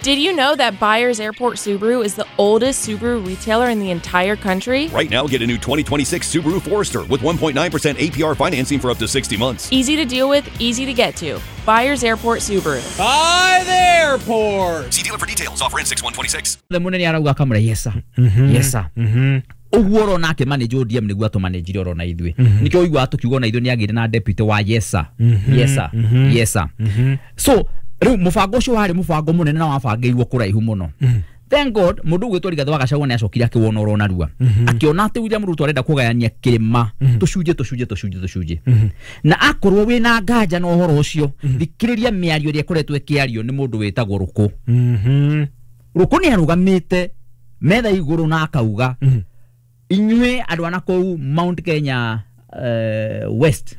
Did you know that Byers Airport Subaru is the oldest Subaru retailer in the entire country? Right now, get a new 2026 Subaru Forester with 1.9% APR financing for up to 60 months. Easy to deal with, easy to get to. Byers Airport Subaru. By the airport! See dealer for details. Offer ends 6/126. The munene arauga akamwĩra, "Yes sir, yes sir." Ũguo ũrona akĩ manage ODM nĩguo atũmanĩnjire oro na ithuĩ. Nĩkĩo ũiguaga tũkiuga ona ithuĩ nĩ agĩire na deputy wa "Yes sir, yes sir, yes sir." So rĩu mũbango ũcio warĩ mũbango mũnene na wabangĩirwo kũraihu mũno. Thank God, mũndũ ũgwĩtwo Rigathĩ wa Gachagua nĩ acokire akĩwona oro narua, akĩona atĩ William Ruto arenda kũgayania kĩrĩma tũcunjĩ tũcunjĩ tũcunjĩ tũcunjĩ. Na akorwo wĩna nganja na ũhoro ũcio, thikĩrĩria mĩario ĩrĩa ĩkoretwo ĩkĩario nĩ mũndũ wĩtagwo Rũkũ. Rũkũ nĩ arũgamĩte metha igũrũ na akauga, "Inyuĩ andũ a nakũu Mount Kenya West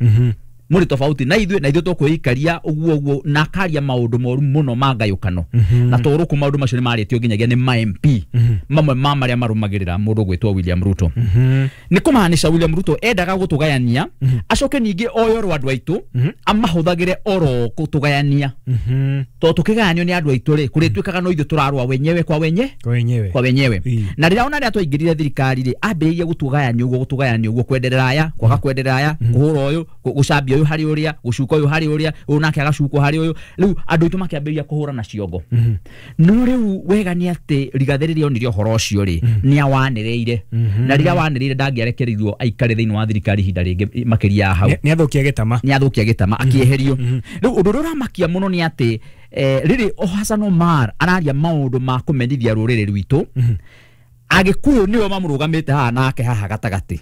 mũrĩ tofauti na ithuĩ, na ithuĩ tũkwĩikaria ũguo ũguo," na akaria maũndũ moru mũno ma ngayũkano. Na to Rũkũ, maũndũ macio nĩ marĩtio nginyagia nĩ ma MP mamwe ma marĩa marũmagĩrĩra mũndũ gwĩtwo William Ruto. Nĩ kũmaanisha William Ruto endaga gũtũgayania, acoke ningĩ oyo andũ aitũ amahũthagĩre oro gũtũgayania, tondũ tũkĩgayanio nĩ andũ aitũ rĩ, kũrĩtuĩkaga no ithuĩ tũrarũa wenyewe kwa wenye Kwa wenyewe. Kwa wenyewe. Na rĩrĩa ona rĩrĩa twaingĩrire thirikari rĩ, ambĩrĩirie gũtũgayania ũguo, gũtũgayania ũguo, kwenderera aya, kwaga kwenderera aya, kũhũra ũyũ, gũcambia ũyũ harĩ ũrĩa, gũcuka ũyũ harĩ ũrĩa, ũyũ nake agacukwo harĩ ũyũ. Rĩu andũ aitũ makĩambĩrĩria kũhũra na ciongo. No rĩu wega nĩ atĩ Rigathĩ rĩrĩa onire ũhoro ũcio rĩ, nĩ awanĩrĩire, na rĩrĩa wanĩrĩire, ndangĩarekereirio aikare thĩinĩ wa thirikari ihinda rĩngĩ makĩria ya hau. Nĩ athũkia gĩtama. Nĩ athũkia gĩtama, akĩeherio. Rĩu ũndũ ũrĩa ũramakia mũno nĩ atĩ rĩrĩ o Hassan Omar araria maũndũ ma kũmenithia rũrĩrĩ rwitũ, Agĩkũyũ nĩo mamũrũgamĩte haha nake haha gatagatĩ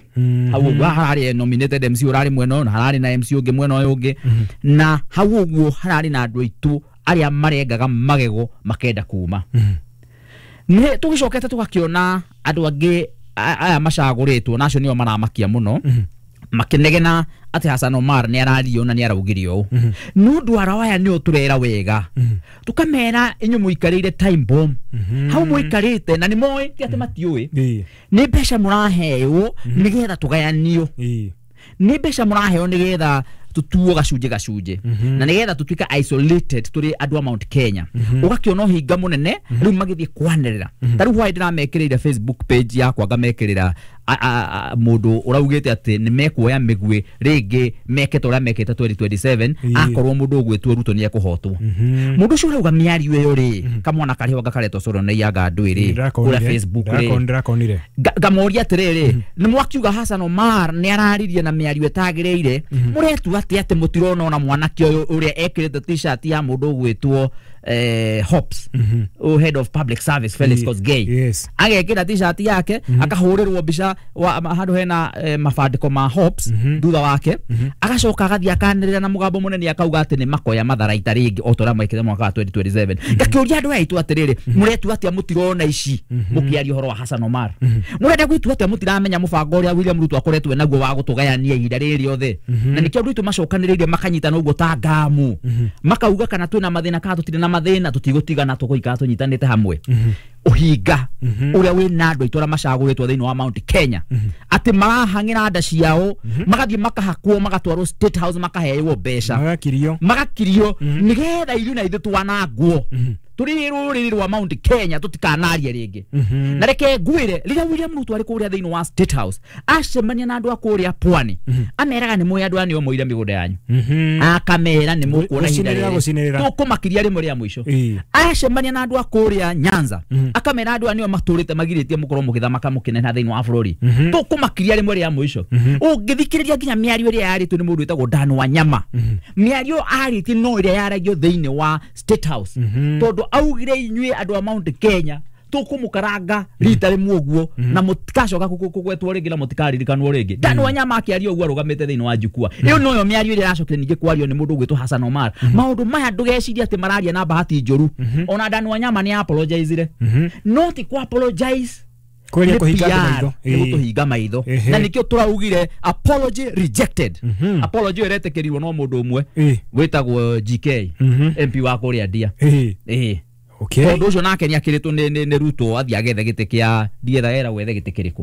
hau ũguo. Haha hararĩ nominated MC ũrarĩ mwena ũyũ, na hararĩ na MC ũngĩ mwena ũyũ ũngĩ, na hau ũguo hararĩ na andũ aitũ arĩa marengaga magego makenda kuma. Nĩ tũgĩcokete tũgakĩona andũ angĩ aya macagũrĩtwo, na acio nĩo maramakia mũno, makĩnegena atĩ Hassan Omar nĩ arario na nĩ araugire ũũ. Nĩ ũndũ arĩa aya nĩo tũrera wega, tũkamera, "Inyuĩ mũikarĩire time bomb hau mũikarĩte," na nĩ moĩ, ti atĩ matiũĩ. Nĩ mbeca mũraheo nĩgetha tũgayanio. Nĩ mbeca mũraheo nĩgetha tũtuo gacunjĩ gacunjĩ, na nĩgetha tũtuĩke isolated tũrĩ andũ a Mount Kenya. Ũgakĩona ũhinga mũnene rĩu magĩthiĩ kwanĩrĩra. Ta rĩu hwaĩ ndĩramekĩrĩire Facebook page yakwa, ngamekĩrĩra mũndũ ũraugĩte atĩ nĩ mekuoya mĩguĩ rĩngĩ meke ta ũrĩa mekĩte 2027 akorwo mũndũ ũgwĩtwo Ruto nĩ ekũhotwo. Mũndũ ũcio ũrauga mĩario ĩyo rĩ, kamwana karĩ ho gakaretwo Soro Ngandũĩ rĩ, kũrĩa Facebook rĩ. Ndĩrakonire. Ngamoria atĩrĩrĩ, nĩ mwakiuga Hassan Omar nĩ araririe na mĩario ĩtagĩrĩire, mũretua atĩ mũtirona ona mwanake ũyũ ũrĩa ekĩrĩte T-shirt ya mũndũ ũgwĩtwo Hops, o head of public service Felix Kosgei, agekĩra T-shirt yake, akahũrĩrwo mbica handũ hena mabandĩko ma Hops thutha wake, agacoka agathiĩ akanĩrĩra na mũgambo mũnene akauga atĩ nĩ makoya matharaita rĩngĩ o ta ũrĩa mekĩte mwaka wa 2027. Ngakĩũria andũ aya aitũ atĩrĩrĩ, mũretua atĩa mũtirona ici mũkĩaria ũhoro wa Hassan Omar? Mũrenda gwĩtua atĩa mũtiramenya mũbango ũrĩa William Ruto akoretwo naguo wa gũtũgayania ihinda rĩrĩ rĩothe? Na nĩkĩo andũ aitũ macokanĩrĩire makanyitana ũguo ta ngamu, makauga kana twĩna mathĩna kana tũtirĩ na mathĩna, tũtigũtigana, tũgũikara tũnyitanĩte hamwe. Ũhinga ũrĩa wĩna andũ aitũ arĩa macagũrĩtwo thĩinĩ wa Mount Kenya, atĩ marahang'ĩra nda ciao, magathiĩ makahakwo, magatwarwo State House, makaheyo mbeca, Magakirio. Magakirio nĩgetha ithuĩ na ithuĩ twanangwo tũrĩ rũrĩrĩ rwa Mount Kenya, tũtikanarie rĩngĩ. Na reke ngwĩre, rĩrĩa William Ruto arĩ kũrĩa thĩinĩ wa State House acemania na andũ a kũrĩa pwani, ameraga, "Nĩ mũĩ andũ aya nĩo moire mĩgũnda yanyu?" Akamera, "Nĩ mũkuona ihinda Gũcinĩrĩra, rĩrĩ gũcinĩrĩra. tũkũmakiria rĩmwe rĩa mũico." Acemania na andũ a kũrĩa Nyanza, akamera, "Andũ aya nĩo matũrĩte magirĩtie mũkorwo mũgĩthamaka mũkĩneneha thĩinĩ wa bũrũri, tũkũmakiria rĩmwe rĩa mũico." Ũngĩthikĩrĩria nginya mĩario ĩrĩa yarĩtio nĩ mũndũ wĩtagwo Dan Wanyama, mĩario arĩtie no ĩrĩa yaragio thĩinĩ wa State House, tondũ augire, "Inyuĩ andũ a Mount Kenya tũkũmũkaranga rita rĩmwe ũguo na mũtikacoka kũgwetwo rĩngĩ na mũtikaririkanwo rĩngĩ." Dan Wanyama akĩaria ũguo arũgamĩte thĩinĩ wa jukwaa. Ĩyo noyo mĩario ĩrĩa ĩracokire ningĩ kwario nĩ mũndũ ũgwĩtwo Hassan Omar. Maũndũ maya ndũgecirie atĩ mararia na bahati njũru. Ona Dan Wanyama nĩ apologizire, no ti ku apologize Kũgeria nĩ kũhinga andũ PR, maitho. nĩ gũtũhinga maitho. Na nĩkĩo tũraugire apology rejected. Apology ĩyo ĩretĩkĩrirwo no mũndũ ũmwe wĩtagwo GK, MP wa kũrĩa Ndia. Ĩĩ. Tondũ ũcio nake nĩ akĩrĩtwo nĩ Ruto athiĩ agethe gĩtĩ kĩa ndietha era gwethe gĩtĩ kĩrĩkũ.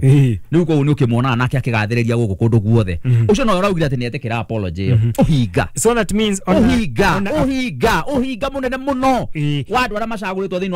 Rĩu koguo nĩ ũkĩmuonaga nake akĩgathĩrĩria gũkũ kũndũ guothe. Ũcio nowe ũraugire atĩ nĩ etĩkĩra apology ĩyo. Ũhinga. So that means ona Ũhinga. ona Ũhinga, ũhinga mũnene mũno wa andũ arĩa macagũrĩtwo thĩinĩ wa